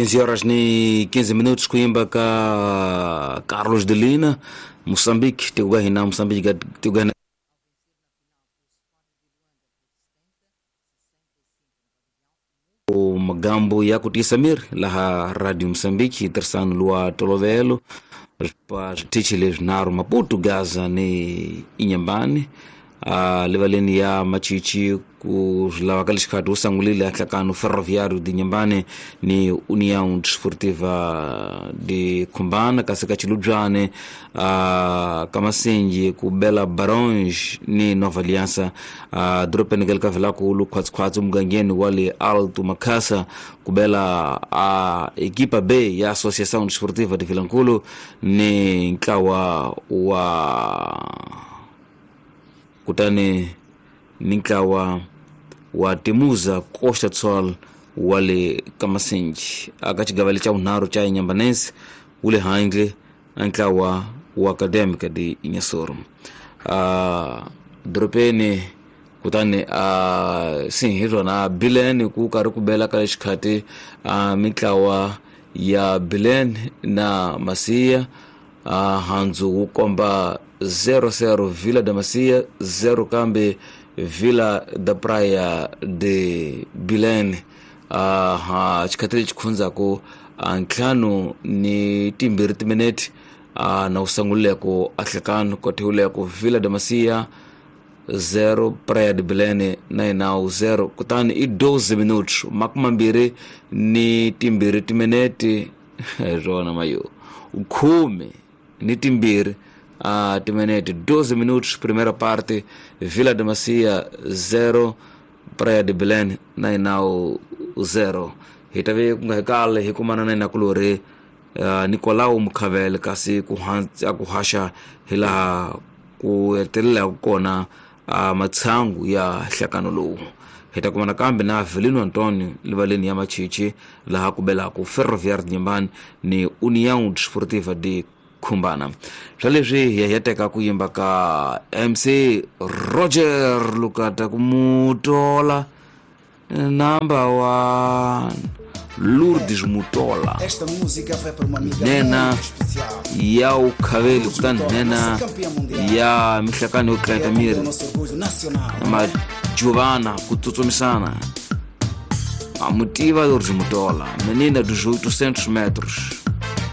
15 horas ni 15 minutos kuimba ka Carlos de Lina Moçambique tikugahina Moçambique tikugahina magambo ya kutisa mir laha Radio Moçambique tirhisano lwa tolovelo pa switichi leswinharhu Maputo, Gaza ni Inhambane. Livaleni ya Machichi ku swi ka lexikhathi wu sangulile nhlakano Ferroviário de Inhambane ni União Desportiva de Khumbana, kasi ka Chilubyane ka Masenji ku bela Barões ni Nova Aliança. Dorobeni ka le ka Vilankulu khwatsikhwatsi mugangeni wa le Alto Makhasa ku bela equipa B ya Associação Desportiva de Vilankulu ni ntlawa wa kutani ni ntlawa wa Timuza Costa do Sol wa le Kamasenji. Aka xigava lexa vunharhu xa Inhambane wu le handle a ntlawa wa Académica de Inhassoro. Dorobeni kutani hi rona Bilene ku karhi ku bela ka lexikhathi mintlawa ya Bilene na Masia. Handzu wu komba 0-0 Vila da Macia, 0 kambe Vila da Praia de Bilene. Xikhathi lexi khundzako ntlhanu ni timbirhi timinete na wu sangulileko ahlekano kothewuleko Vila da Macia 0 Praia de Bilene na yinawu 0. Kutani i 12 minutos makumambirhi ni timbirhi timinete rona mayo khume ni timbirhi timinete 12 minutos primeira parte Vila de Macia 0 Praia de Belém na inawu 0. Hi ta ve ku nga hi kale hi kumana na inakulori Nicolau Mukhavele kasi ku haxa hi laha ku hetelelaka kona matshangu ya nhlakano lowu. Hi ta kumana kambe na Avelino Antonio livaleni ya Machichi laha ku belaka Ferroviário de Inhambane ni União Desportiva de Khumbana. Swa leswi hi ya teka ku yimba ka MC Roger Lukata ku Mutola number 1 Lourdes Mutola. Esta música foi para uma amiga nena muito especial. Ya ukhaveli kutani nena ya mihlakano yo tlayeta miri majuvana ku tsutsumisana. A mutiva Lourdes Mutola, menina dos 800 metros.